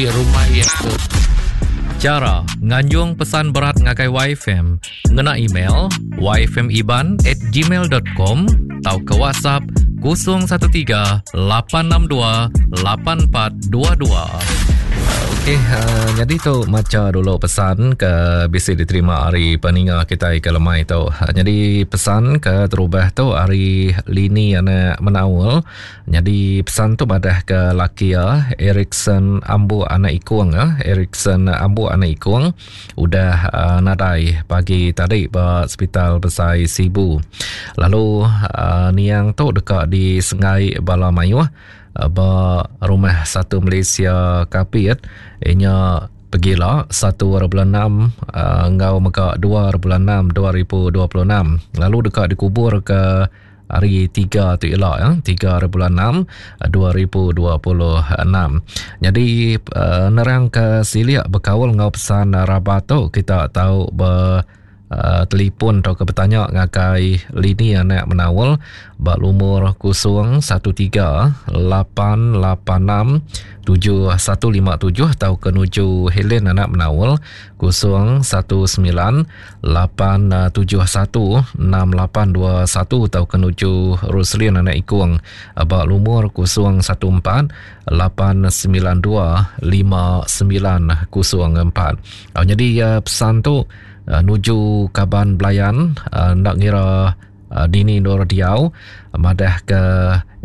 agi rumah iya tu. Chara nganjung pesan berat ngagai YFM ngena email yfmiban at gmail dot com tauka WhatsApp 013 862 8422. Okey, uh, jadi tu macha dulu pesan ke bisi diterima ari peninga kitai ke lemai tu. Uh, jadi pesan ke terubah tu ari Lini anak Menaul. Nyadi pesan tu madah ke laki iya Erikson Ambu anak Ikung eh Erikson Ambu anak Ikung udah uh, nadai pagi tadi ba Sepital Besai Sibu. Lalu uh, niang tu deka disengai bala mayuh uh, ba Rumah Satu Malaysia Kapit inya pegila 1 hari bulan 6 uh, enggau mega 2 hari bulan 6 2026 lalu deka dikubur ke Hari tiga tu ila ya, 3 hari bulan 6 2026. Jadi uh, nerang ke silik bekaul enggau pesan rabat tu kita tau ber uh, telefon atau ke bertanya ngagai lini anak menaul ba lumur 013 886 7157 atau ke nuju Helen anak menaul 019 871 6821 tauka nuju Roslin anak Ikung ba lumur 014 892 5904. Nyadi pesan tu nuju kaban belayan enda ngira dini endur diau madah ke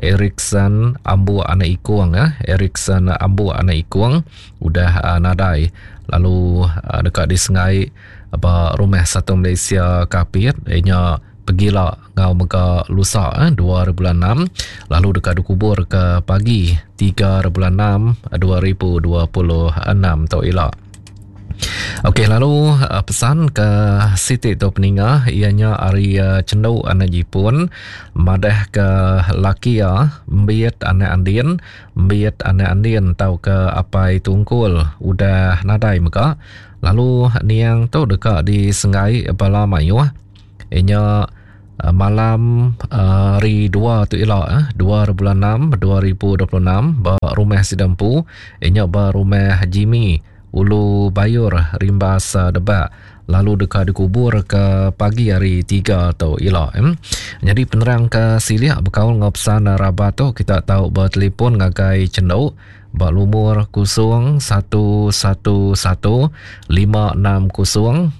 Erikson Ambu anak Ikung Erikson Ambu anak Ikung udah nadai lalu deka disengai Ba Rumah Satu Malaysia Kapit iya nya pegila enggau mega lusa 2 hari bulan 6 lalu deka dikubur ke pagi 3 hari bulan 6 2026 tu ila. Okey lalu eh, pesan ke siti tu peninga iya nya ari eh, Chendu anak Jipun madah ke laki iya Embiet anak Andin Embiet anak Andin tauka apai Tungkul udah nadai mega Lalu niang tu deka disenggai bala mayuh inya eh, malam eh, hari 2 tu ila 2 eh, bulan 6 2026 ba rumah sida empu inya ba rumah Jimmy Ulu Bayur Rimbas Debak lalu deka dikubur ke pagi hari 3 tu ila. Jadi penerang ke silik bekaul enggau pesan rabat tu kita tau bertelefon ngagai Chenduk Ba lumur 011 560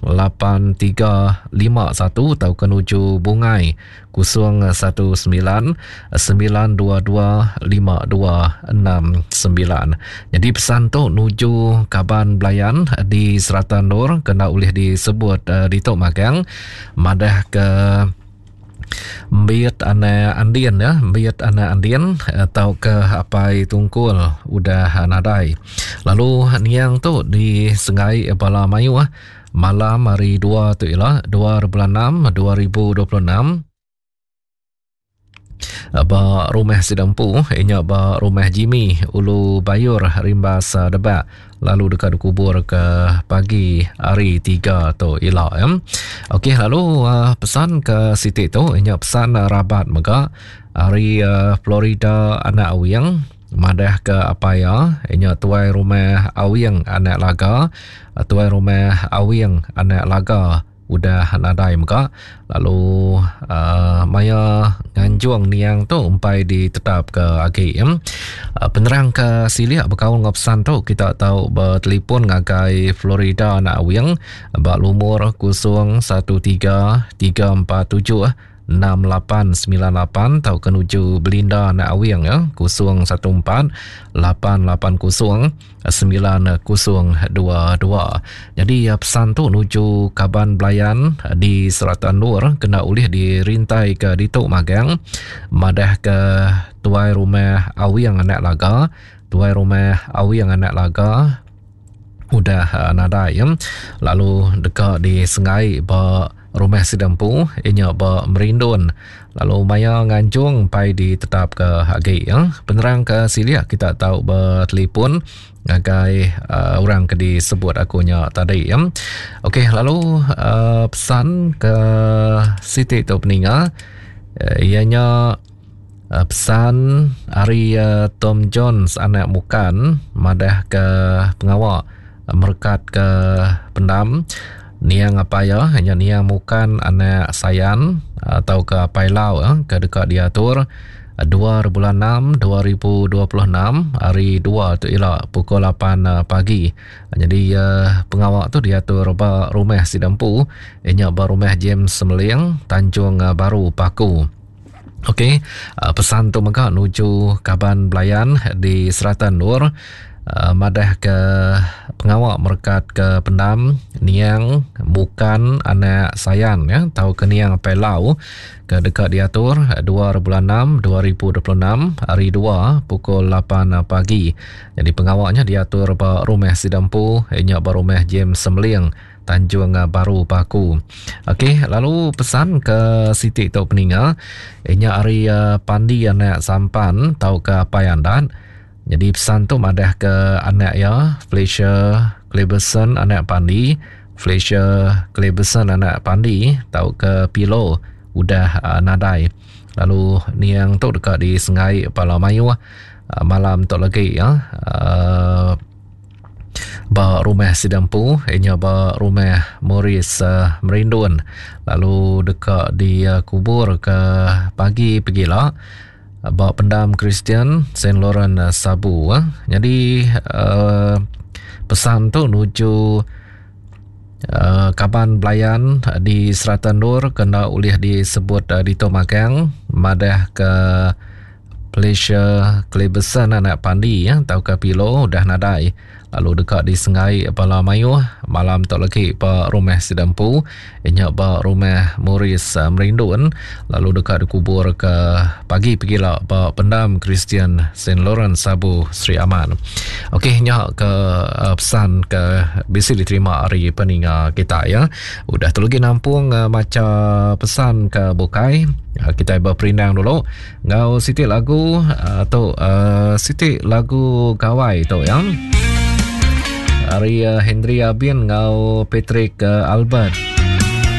8351 tauka nuju Bungai 019 922 5269. Nyadi pesan tu nuju kaban belayan di serata endur kena ulih disebut uh, ditu magang madah ke Embiit anak Andin ya, Embiit anak Andin eh, tauka apai Tungkul udah nadai. Lalu niang tu disengai bala mayuh malam hari 2 tu ila 2 bulan 6 2026 ba rumah sida empu inya ba rumah Jimmy Ulu Bayur Rimbas Debak lalu deka dikubur ke pagi hari 3 tu ila ya. Okey lalu uh, pesan ke siti tu inya pesan rabat mega hari uh, Florida anak Awing madah ke apai iya inya tuai rumah Awing anak Laga tuai rumah Awing anak Laga Udah nadai mega lalu uh, maya nganjung niang tu empai ditetapka agi. Uh, penerang ke silik bekaul enggau pesan tu kita tau bertelefon ngagai Florida anak Awing ba lumur 013 347 6898 tauka nuju Belinda anak Awing ya 014 880 9022. Jadi ya, pesan tu nuju kaban belayan di serata endur kena ulih dirintai ke ditu magang madah ke tuai rumah Awing anak Laga, tuai rumah Awing anak Laga udah uh, nadai ya. Lalu deka disengai ba rumah sida empu inya ba Merindun lalu maya nganjung pai ditetapka agi ya. Penerang ke silik kita tau bertelefon ngagai uh, orang ke disebut aku nya tadi ya. Okey lalu uh, pesan ke siti tu peninga uh, ianya. Pesan ari Tom Jones anak Mukan madah ke pengawa merekat ke pendam niang apai iya nya niang Mukan anak Sayan tauka apai Lau ke deka diatur 2 bulan 6 2026 hari 2 tu ila pukul 8 pagi. Nyadi pengawa tu diatur ba rumah sida empu nya ba rumah James Semeling Tanjung Baru Paku. Okey, pesan tu mega nuju kaban belayan di serata endur madah ke pengawa merekat ke pendam niang bukan anak sayan ya tau ke niang Apai Lau ke deka diatur 2 bulan 6 2026 hari 2 pukul 8 pagi. Jadi pengawa nya diatur ba rumah sida empu nya ba rumah James Semeling Tanjung Baru Paku. Okey, lalu pesan ke siti tu peninga inya ari eh, Pandi anak Sampan tauka Apai Andat. Jadi pesan tu madah ke anak iya Fletcher Cleberson anak Pandi, Fletcher Cleberson anak Pandi tauka Pilo udah uh, nadai. Lalu niang tu deka disengai pala mayuh uh, malam tu lagi ya. Uh, ba rumah sida empu inya ba rumah Morris uh, Merindun lalu deka dikubur ke pagi pegila ba pendam Kristian Saint Laurent eh, Sabu. Eh. Jadi uh, pesan tu nuju uh, kaban belayan di serata endur kena ulih disebut uh, ditu magang madah ke Felicia Cleberson anak Pandi ya, tauka Pilo udah nadai lalu deka disengai bala mayuh malam tu lagi ba rumah sida empu inya ba rumah Morris eh, Merindun lalu deka dikubur ke pagi pegila ba pendam Kristian St. Lawrence Sabu Sri Aman. Okey nya ke eh, pesan ke bisi diterima ari peninga kita ya. Udah tu lagi nampung eh, macha pesan ke bukai kita berperindang dulu. Ngau siti lagu uh, tu uh, siti lagu gawai tu ya. Ari uh, Henry Abin ngau Patrick uh, Albert.